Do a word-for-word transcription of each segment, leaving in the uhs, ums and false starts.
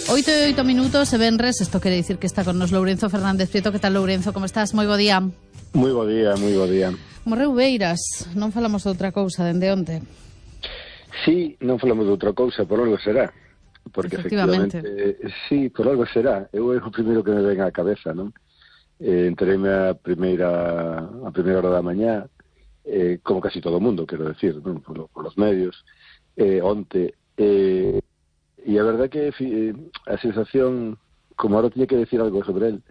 Oito e oito minutos e venres, isto quere dicir que está con nos Lourenzo Fernández Prieto. Que tal, Lourenzo? Como estás? Moi bo día. Moi bo día, moi bo día. Morreu Beiras, non falamos de outra cousa dende onte. Sí, non falamos de outra cousa, por algo será. Porque efectivamente, eh, sí, por algo será. Eu é o primeiro que me ven á cabeza, non? Eh, entereime a primeira a primeira hora da mañá, eh, como casi todo o mundo, quero decir, non? Por, por los medios, eh, onte, eh, e a verdade que eh, a sensación, como ahora tiña que decir algo sobre él,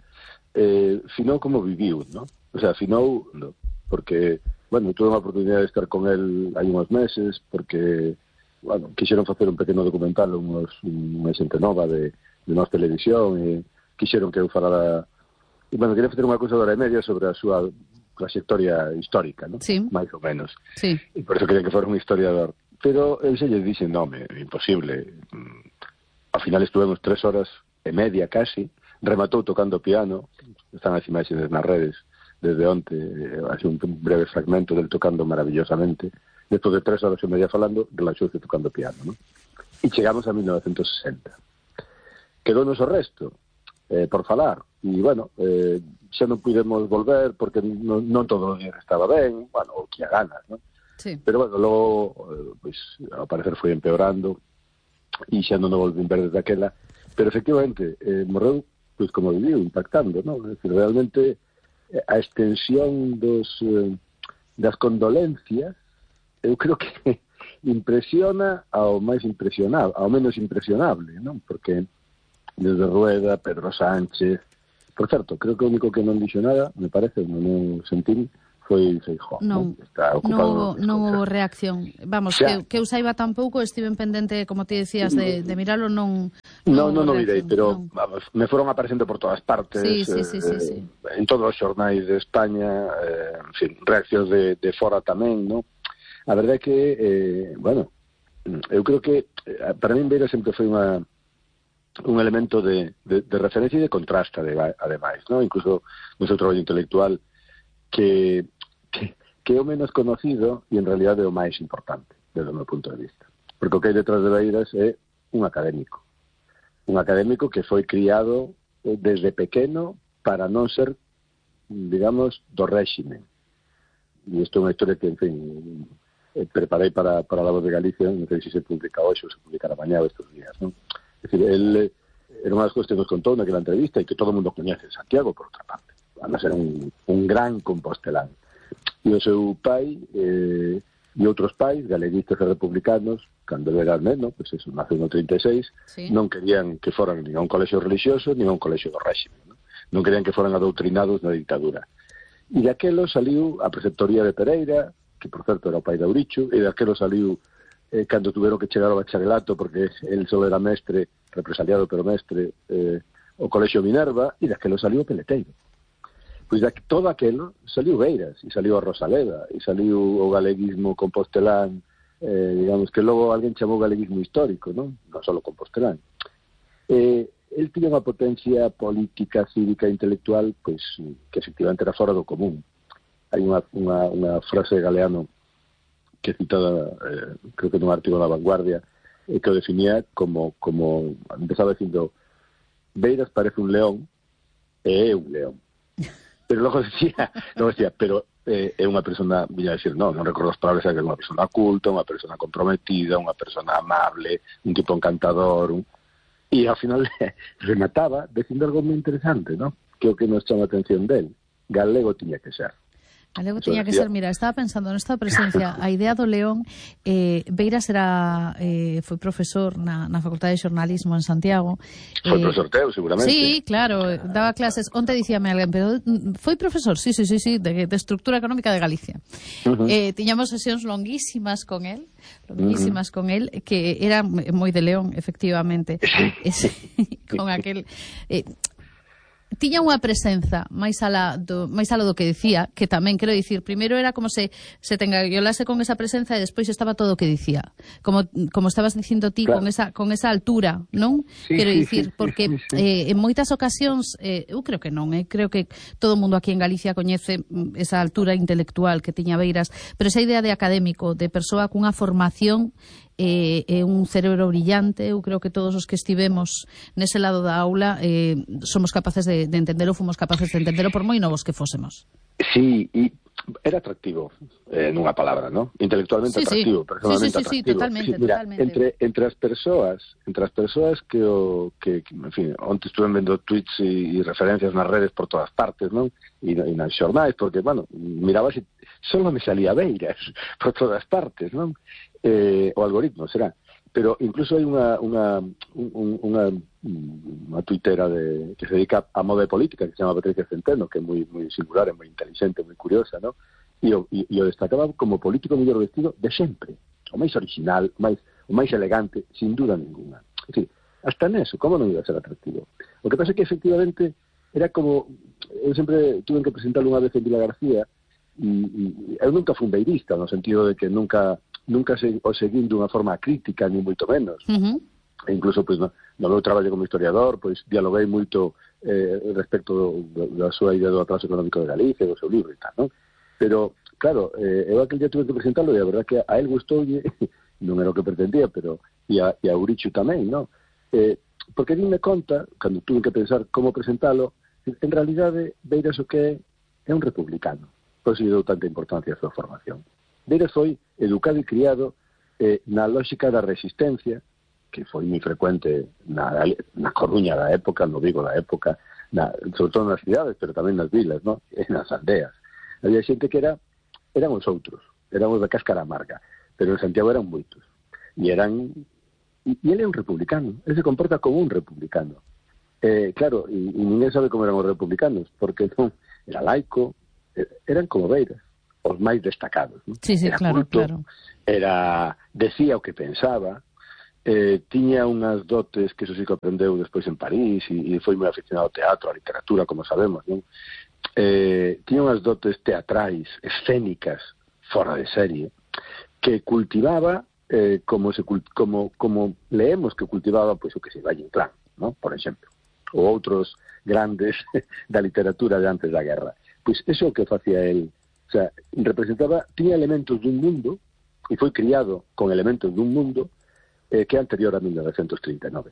eh, finou como viviu, non? O sea, finou, no, porque, bueno, tuve unha oportunidade de estar con él hai uns meses, porque, bueno, quixeron facer un pequeno documental, unos, unha xente nova de, de nosa televisión, e quixeron que eu falara, e, bueno, quería facer unha cousa de hora e media sobre a súa trayectoria histórica, non? Sí. Mais ou menos. Sí. E por eso querían que fora un historiador. Pero el se lle dixe, no, me, imposible. Ao final estuvemos tres horas e media casi, rematou tocando piano, están as imaxes nas redes desde onte, hace un breve fragmento del tocando maravillosamente. Despois de tres horas e media falando, relaxouse tocando piano, ¿no? E chegamos a mil novecentos sesenta. Quedounos o resto, eh, por falar, e, bueno, eh, xa non pudemos volver porque non, non todo o día estaba ben, bueno, o que a ganas, ¿no? Sí. Pero, bueno, logo, pues, ao parecer foi empeorando e xa non o volvín ver desde aquela, pero efectivamente eh, morreu, pois, como viviu, impactando, ¿no? Es decir, realmente a extensión dos eh, das condolencias eu creo que impresiona ao máis impresionable, ao menos impresionable, ¿no? Porque desde Rueda, Pedro Sánchez, por certo, creo que o único que non dixo nada, me parece, non sentín, foi Feijóo, non, non? Está ocupado non houve reacción. Vamos, que, que eu saiba tampouco, estiven pendente, como ti decías, de, de miralo, non... Non, non, non mirei, pero non. Vamos, me foron aparecendo por todas partes, sí, sí, sí, eh, sí, sí. en todos os xornais de España, eh, en fin, reaccións de, de fora tamén, non? A verdade é que, eh, bueno, eu creo que, eh, para min Beira sempre foi unha un elemento de, de, de referencia e de contraste, ademais, non? Incluso no seu traballo intelectual, que, que, que é o menos conocido e en realidad é o máis importante desde o meu punto de vista, porque o que hai detrás de Beiras é un académico un académico que foi criado desde pequeno para non ser, digamos, do réxime, e isto é unha historia que, en fin, preparei para, para La Voz de Galicia, non sei se se publica hoxe ou se publicará mañá ou estes días, non? É dicir, el era unha das cousas que nos contou naquela entrevista e que todo o mundo coñece, Santiago, por outra parte, además era un, un gran compostelán. E o seu pai eh, e outros pais, galeguistas e republicanos, cando ele era neno, pois eso, naceu no trinta e seis, sí. Non querían que foran nin a un colexio religioso nin a un colexio do réxime, non? Non querían que foran adoutrinados na dictadura. E daquelo saliu a preceptoría de Pereira, que por certo era o pai de Auricho, e daquelo saliu eh, cando tuveron que chegar ao bacharelato, porque el só era mestre, represaliado pero mestre, eh, o colexio Minerva, e daquelo saliu o Peleteiro. Pois de todo aquelo saliu Beiras, e saliu a Rosaleda, e saliu o galeguismo compostelán, eh, digamos que logo alguén chamou galeguismo histórico, non? Non só compostelán. Eh, el tiña unha potencia política, cívica, intelectual, pois que efectivamente era fora do común. Hai unha, unha, unha frase de Galeano que é citada, eh, creo que nun artigo da Vanguardia, eh, que o definía como, como empezaba dicindo, Beiras parece un león e é un león. Pero logo decía, logo decía, pero eh, é unha persona, viña a decir, non, non recordo as palabras, que é unha persona culta, unha persona comprometida, unha persona amable, un tipo encantador, un... e ao final remataba dicindo algo moi interesante, ¿no? Que é o que nos chama a atención del. Galego tiña que ser. Galego tiña que ser, mira, estaba pensando nesta presencia, a idea do león, eh, Beiras era, eh, foi profesor na, na Facultade de Xornalismo en Santiago. Foi eh, profesor teu, seguramente. Sí, claro, daba clases, onte dicíame alguén, pero foi profesor, sí, sí, sí, sí, de, de Estructura Económica de Galicia. Uh -huh. eh, tiñamos sesións longuísimas con él, longuísimas uh -huh. con él, que era moi de león, efectivamente. Ese, con aquel... Eh, tiña unha presenza máis ala do, máis ala do que dicía, que tamén quero dicir, primeiro era como se se te engaiolase con esa presenza e despois estaba todo o que dicía. Como como estabas dicindo ti, claro. con esa con esa altura, non? Sí, quero sí, dicir, sí, porque sí, sí. Eh, en moitas ocasións, eh, eu creo que non, eh, creo que todo o mundo aquí en Galicia coñece esa altura intelectual que tiña Beiras, pero esa idea de académico, de persoa cunha formación é, é un cerebro brillante. Eu creo que todos os que estivemos nese lado da aula eh, somos capaces de, de entendelo, fomos capaces de entendelo por moi novos que fósemos. Sí, e era atractivo, eh, nunha palabra, ¿no? Intelectualmente sí, atractivo, sí. personalmente sí, sí, sí, atractivo. Sí, totalmente, sí, mira, totalmente. Entre, entre as persoas, entre as persoas que, o, que, que en fin, onte estuve vendo tweets e, e referencias nas redes por todas partes, non? E, e nas xornais, porque, bueno, miraba se solo me salía Beiras por todas partes, non? Eh, o algoritmo, será. Pero incluso hai unha unha un, unha unha tuitera de, que se dedica a moda de política, que se chama Patricia Centeno, que é moi moi singular, é moi inteligente, moi curiosa, ¿no? E o, e, e o destacaba como político mellor vestido de sempre, o máis original, o máis, o máis elegante, sin duda ninguna. En fin, hasta neso, como non iba a ser atractivo? O que pasa é que, efectivamente, era como... Eu sempre tuve que presentarlo unha vez en Vila García, e, e eu nunca fui beirista, no sentido de que nunca... nunca se, o seguín dunha forma crítica, ni moito menos. Uh-huh. E incluso, pois, no, no meu traballo como historiador, pois, dialoguei moito eh, respecto do, da súa idea do atraso económico de Galicia, do seu libro e tal, non? Pero, claro, eh, eu aquel día tuve que presentarlo e a verdad que a él gustoulle, non era o que pretendía, pero e a, e a Urichu tamén, non? Eh, porque dime conta, cando tuve que pensar como presentalo, en realidade, Beiras o que é, é un republicano. Por isso lle dou tanta importancia a súa formación. Beiras foi educado e criado eh, na lógica da resistencia, que foi moi frecuente na, na Coruña da época, no Vigo da época, na, sobre todo nas cidades, pero tamén nas vilas, ¿no? E nas aldeas. Había xente que era, eran os outros, eran os da cáscara amarga, pero en Santiago eran moitos. E eran, e, e ele é un republicano, ele se comporta como un republicano. Eh, claro, e, e ninguén sabe como eran os republicanos, porque non, era laico, eh, eran como Beiras, os máis destacados, ¿no? Sí, sí, era claro, culto, claro. Era, decía o que pensaba, eh, tiña unhas dotes que eso sí que aprendeu despois en París, e, e foi moi aficionado ao teatro, á literatura, como sabemos, non? Eh, tiña unhas dotes teatrais, escénicas, fora de serie, que cultivaba eh, como, se, como, como leemos que cultivaba, pois, o que se Valle Inclán, ¿no? Por exemplo, ou outros grandes da literatura de antes da guerra. Pois eso é o que facía el. O sea, representaba, tiña elementos dun mundo, e foi criado con elementos dun mundo eh, que é anterior a mil novecientos trinta e nove.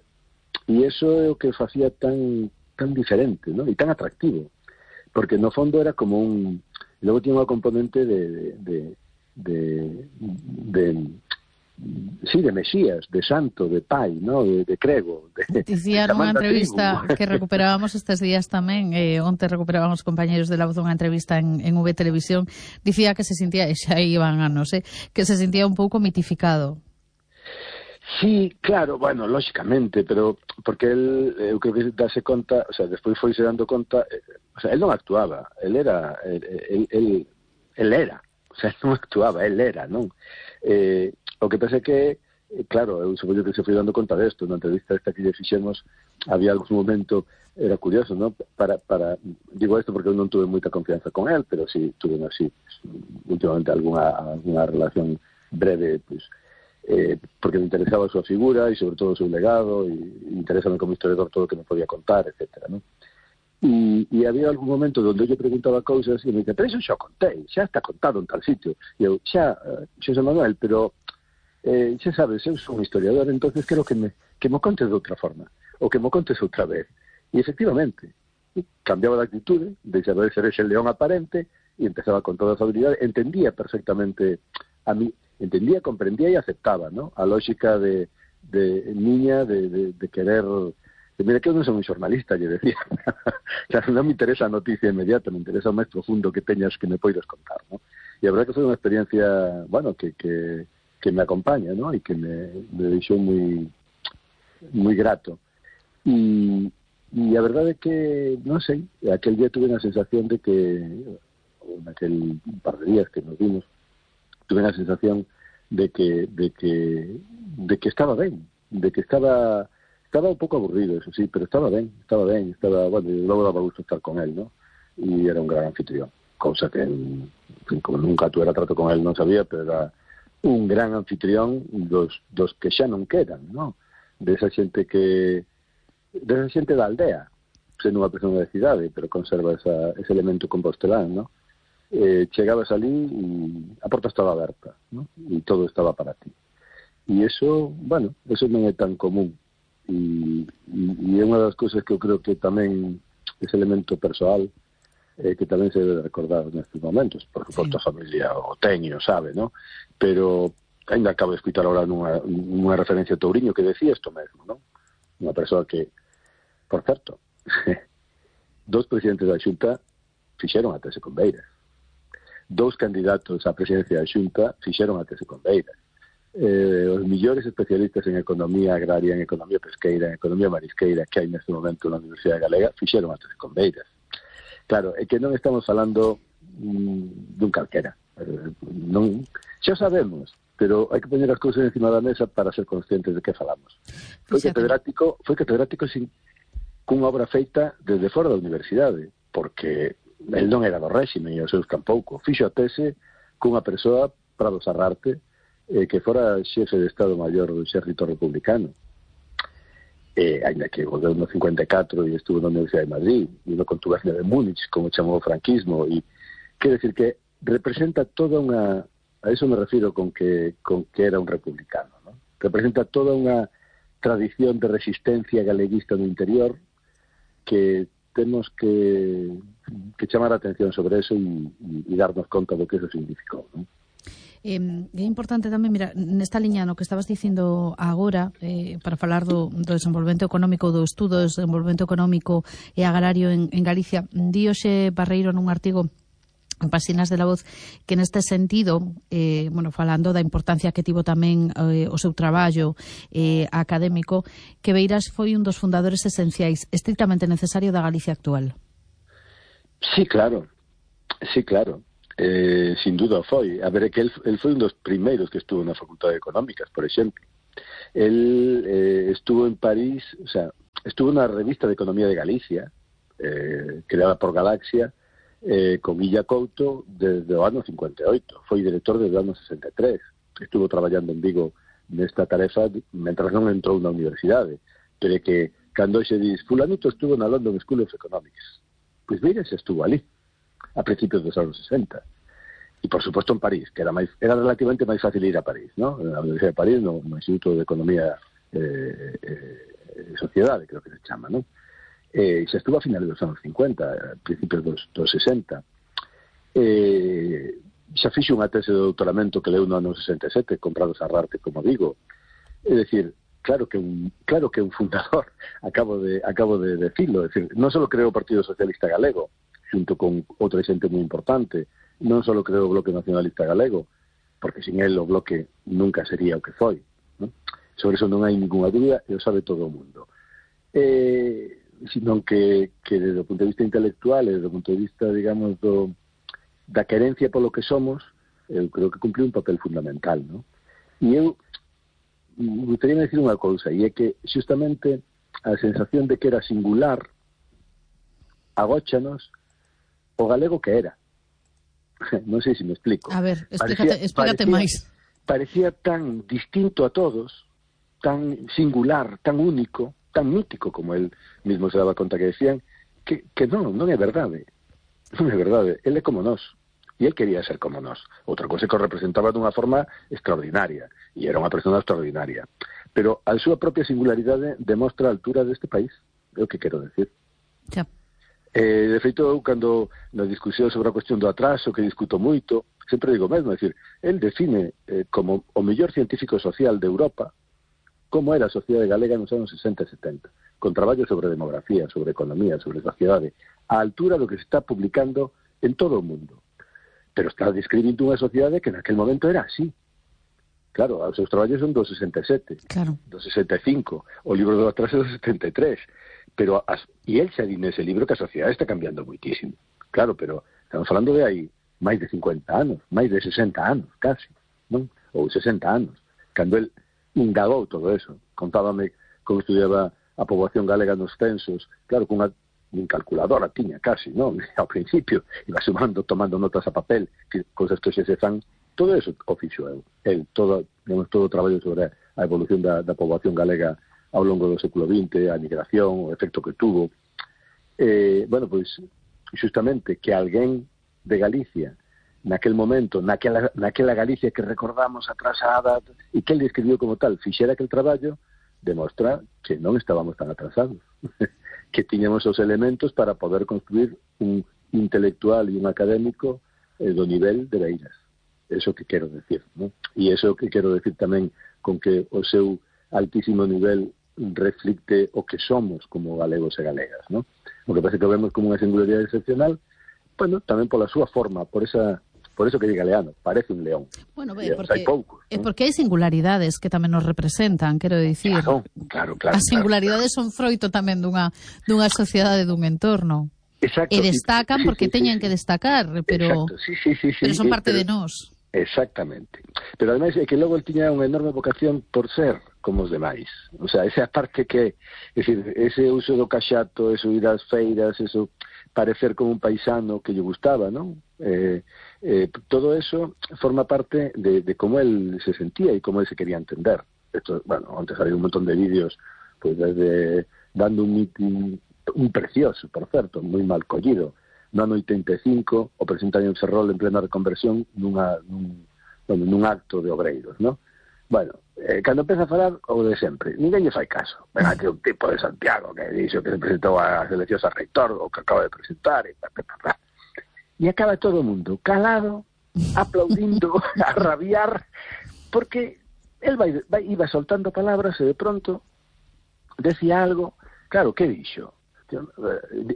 E iso é o que facía tan tan diferente, ¿no? E tan atractivo, porque no fondo era como un... Logo tiña unha componente de... de, de, de, de sí, de Mesías, de santo, de pai, ¿no? De, de crego. De, Dicía nunha entrevista que recuperábamos estes días tamén, eh, onte recuperábamos os compañeros de La Voz unha entrevista en, en V Televisión, dicía que se sentía, e xa iban anos, eh, que se sentía un pouco mitificado. Sí, claro, bueno, lógicamente, pero porque él, eu creo que dase conta, o sea, despois foi se dando conta, eh, o sea, él non actuaba, él era, él, él, él era, o sea, non actuaba, él era, non? Eh, o que pasa é que, eh, claro, eu supoño que se foi dando conta desto, na entrevista esta que lle fixemos, había algún momento, era curioso, non? Para, para, digo isto porque eu non tuve moita confianza con él, pero sí tuve así, últimamente alguna, alguna relación breve, pues, eh, porque me interesaba a súa figura e sobre todo o seu legado, e interesame como historiador todo o que me podía contar, etcétera, non? E, e había algún momento onde eu lle preguntaba cousas e me dicía, pero iso xa contei, xa está contado en tal sitio. E eu, xa, Xosé Manuel, pero eh, xa sabes, eu sou un historiador, entonces quero que me, que me contes de outra forma, ou que me contes outra vez. E efectivamente, cambiaba de actitude, deixaba de ser ese león aparente, e empezaba con toda a habilidade, entendía perfectamente a mí, entendía, comprendía e aceptaba, ¿no? A lógica de, de niña de, de, de querer... De, mira, que eu non son un xornalista, lle decía. Claro, non me interesa a noticia inmediata, me interesa o máis profundo que teñas que me poidas contar, ¿no? E a verdade que foi unha experiencia, bueno, que, que, que me acompaña, ¿no? E que me, me deixou moi moi grato. E, e a verdade é que, non sei, aquel día tuve a sensación de que, naquel par de días que nos vimos, tuve a sensación de que, de que, de que estaba ben, de que estaba... Estaba un pouco aburrido, eso sí, pero estaba ben, estaba ben, estaba, bueno, e logo daba gusto estar con él, ¿no? E era un gran anfitrión, cousa que, en fin, como nunca tuera trato con él, non sabía, pero era un gran anfitrión dos, dos que xa non quedan, ¿no? De esa xente que, de esa xente da aldea, sendo unha persona da cidade, pero conserva esa, ese elemento compostelán, ¿no? Eh, chegabas ali e a porta estaba aberta, ¿no? E todo estaba para ti. E iso, bueno, eso non é tan común. E, e é unha das cousas que eu creo que tamén ese elemento persoal eh, que tamén se debe recordar nestes momentos. Por suposto, sí. A familia o teño, sabe, ¿no? Pero ainda acabo de escutar ahora nunha, nunha referencia a Touriño que decía isto mesmo, ¿no? Unha persoa que, por certo, dos presidentes da Xunta fixeron a tese con Beiras. Dous candidatos á presidencia da Xunta fixeron a tese con Beiras. Eh, os millores especialistas en economía agraria, en economía pesqueira, en economía marisqueira que hai neste momento na Universidade Galega fixeron a tese con Beiras. Claro, é que non estamos falando mm, dun calquera. Eh, non, xa sabemos, pero hai que poñer as cousas encima da mesa para ser conscientes de que falamos. Foi catedrático, foi catedrático sin, cunha obra feita desde fora da universidade, porque el non era do réxime e os seus tampouco. Fixo a tese cunha persoa, Prado Sarrarte, eh, que fora xefe de Estado Maior do Exército Republicano. Eh, ainda que volveu no cincuenta e catro e estuvo na Universidade de Madrid e no contubernio de Múnich, como chamou o franquismo, e quer decir que representa toda unha, a eso me refiro con que con que era un republicano, ¿no? Representa toda unha tradición de resistencia galeguista no interior que temos que, que chamar a atención sobre eso e, e darnos conta do que eso significou, ¿no? Eh, é importante tamén, mira, nesta liña no que estabas dicindo agora, eh, para falar do, do desenvolvemento económico, do estudo do desenvolvemento económico e agrario en, en Galicia, di hoxe Barreiro nun artigo en Páxinas de la Voz que neste sentido, eh, bueno, falando da importancia que tivo tamén eh, o seu traballo eh, académico, que Beiras foi un dos fundadores esenciais estritamente necesario da Galicia actual. Sí, claro, sí, claro. Eh, sin duda foi. A ver, é que el, el foi un dos primeiros que estuvo na Facultade de Económicas, por exemplo. El eh, estuvo en París, o sea, estuvo na revista de Economía de Galicia, eh, creada por Galaxia, eh, con Illa Couto desde o ano cincuenta e oito. Foi director desde o ano sesenta e tres. Estuvo traballando en Vigo nesta tarefa mentras non entrou na universidade. Pero é que, cando se diz, fulanito estuvo na London School of Economics, pois Beiras estuvo ali a principios dos anos sesenta. E, por suposto, en París, que era máis, era relativamente máis fácil ir a París, ¿no? Na Universidade de París, no, no Instituto de Economía eh, eh, Sociedade, creo que se chama, ¿no? Eh, xa estuvo a finales dos anos cincuenta, a principios dos, dos sesenta. Eh, xa fixo unha tese de doutoramento que leu no ano sesenta e sete, con Prado Sarrarte, como digo. É dicir, claro que un, claro que un fundador, acabo de, acabo de decirlo, é dicir, non só creou o Partido Socialista Galego, junto con outra xente moi importante, non só creou o Bloque Nacionalista Galego, porque sin él o Bloque nunca sería o que foi, ¿no? Sobre eso non hai ninguna dúbida e o sabe todo o mundo. Eh, sino que, que desde o punto de vista intelectual e desde o punto de vista, digamos, do, da querencia polo que somos, eu creo que cumpliu un papel fundamental, ¿no? E eu me gustaría decir unha cousa, e é que justamente a sensación de que era singular agóchanos o galego que era. Non sei se me explico. A ver, explícate, parecía, explícate parecía, máis. Parecía tan distinto a todos, tan singular, tan único, tan mítico, como él mismo se daba conta que decían, que, que non, non é verdade. Non é verdade. Él é como nós. E él quería ser como nós. Outra cosa que o representaba dunha forma extraordinaria. E era unha persona extraordinaria. Pero a súa propia singularidade demostra a altura deste país. É o que quero decir. Xa. Eh, de feito, eu, cando na discusión sobre a cuestión do atraso, que discuto moito, sempre digo mesmo, é dicir, el define eh, como o mellor científico social de Europa como era a sociedade galega nos anos sesenta e setenta, con traballo sobre demografía, sobre economía, sobre sociedade, a altura do que se está publicando en todo o mundo. Pero está describindo unha sociedade que naquel momento era así. Claro, os seus traballos son do sesenta e sete, claro. do sesenta e cinco, o libro do atraso do setenta e tres, pero as, e el xa di nese libro que a sociedade está cambiando muitísimo. Claro, pero estamos falando de aí máis de cincuenta anos, máis de sesenta anos, casi, non? Ou sesenta anos. Cando el indagou todo eso, contábame como estudiaba a poboación galega nos censos, claro, con unha calculadora tiña casi, non? Ao principio, iba sumando, tomando notas a papel, que cousas que xe se fan, todo eso o fixo eu. El, todo, digamos, todo o traballo sobre a evolución da, da poboación galega ao longo do século vinte, a migración, o efecto que tuvo. Eh, bueno, pois, justamente, que alguén de Galicia naquel momento, naquela, naquela Galicia que recordamos atrasada, e que ele escribiu como tal, fixera aquel traballo, demostra que non estábamos tan atrasados, que tiñamos os elementos para poder construir un intelectual e un académico eh, do nivel de Beiras. Eso que quero decir, ¿no? E eso que quero decir tamén con que o seu altísimo nivel reflicte o que somos como galegos e galegas, ¿no? O que pasa que vemos como unha singularidade excepcional, bueno, tamén pola súa forma, por esa por eso que é galeano, parece un león. Bueno, ve, porque, hai poucos, é ¿no? porque hai singularidades que tamén nos representan, quero dicir. Claro, claro, claro. As singularidades claro, son claro. froito tamén dunha dunha sociedade, dun entorno. Exacto. E destacan sí, porque sí, teñen sí, que destacar, pero Exacto. Sí, sí, sí, sí, pero son parte pero, de nós. Exactamente. Pero ademais é que logo el tiña unha enorme vocación por ser como os demais. O sea, esa parte que, é dicir, ese uso do caxato, eso ir ás feiras, eso parecer como un paisano que lle gustaba, non? Eh, eh, todo eso forma parte de, de cómo él se sentía y cómo él se quería entender. Esto, bueno, antes había un montón de vídeos, pues desde dando un meeting, un precioso, por certo, moi mal collido, no ano oitenta e cinco, o presentan en Ferrol en plena reconversión nunha, nun, bueno, nun acto de obreiros, ¿no? Bueno, eh, cando empeza a falar, o de sempre, ninguén lle fai caso. Ven aquí un tipo de Santiago que dixo que se presentou a eleccións a reitor, o que acaba de presentar, e pa, pa, pa, pa. E acaba todo o mundo calado, aplaudindo, a rabiar, porque él vai, vai, iba soltando palabras e de pronto decía algo. Claro, que dixo?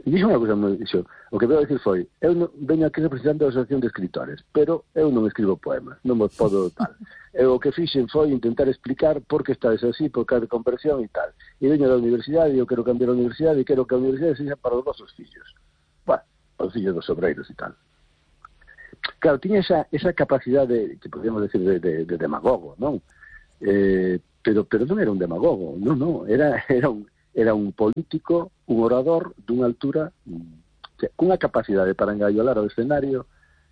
Dixo unha cosa moi dixo, o que veo decir foi, eu non, veño aquí representando a Asociación de Escritores, pero eu non escribo poemas, non vos podo tal. Eu o que fixen foi intentar explicar por que estades así, por que a reconversión e tal. E veño da universidade, e eu quero cambiar a universidade, e quero que a universidade sexa para os vosos fillos. Bueno, os fillos dos obreiros e tal. Claro, tiña esa, esa capacidade, que podríamos decir, de, de, de demagogo, non? Eh, pero, pero non era un demagogo, non, non, era, era un era un político, un orador dunha altura, cunha capacidade para engaiolar o escenario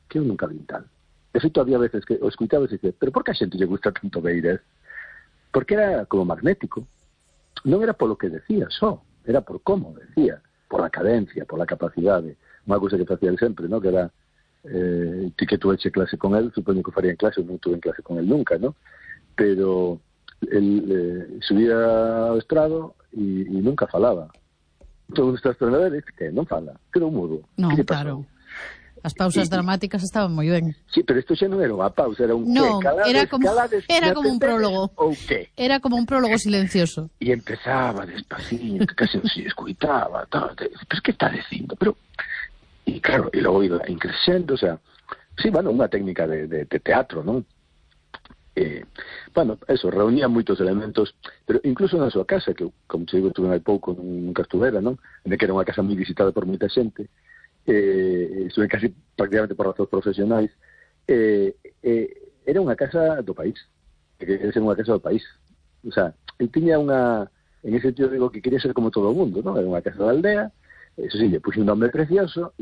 que eu nunca vi tal. De feito, había veces que o escuitaba e dicía, pero por que a xente lle gusta tanto Beiras? Porque era como magnético. Non era polo que decía só, era por como decía, pola cadencia, pola capacidade. Unha cousa que facía sempre, ¿no? Que era, eh, ti que tuveche clase con él, supoño que faría en clase, non tuve en clase con él nunca, ¿no? Pero el eh, subía ao estrado e, e nunca falaba. Todo está esperando a ver, que non fala, quedou mudo. Non, claro. As pausas y, dramáticas estaban moi ben. Sí, pero isto xa non era unha pausa, era un no, que, calades, era como, calades, era como un prólogo. Ou que? Era como un prólogo silencioso. E empezaba despacito, casi se escuitaba, tal, pero que está dicindo? Pero e claro, e logo iba increscendo, o sea, sí, bueno, unha técnica de, de, de teatro, non? Eh, bueno, eso, reunía moitos elementos, pero incluso na súa casa, que, como te digo, estuve hai pouco, nunca estuvera, non? En que era unha casa moi visitada por moita xente, eh, estuve casi prácticamente por razóns profesionais, eh, eh, era unha casa do país, que quería ser unha casa do país. O sea, ele tiña unha, en ese sentido digo que quería ser como todo o mundo, non? Era unha casa da aldea, eso sí, lle puxe un nome precioso, e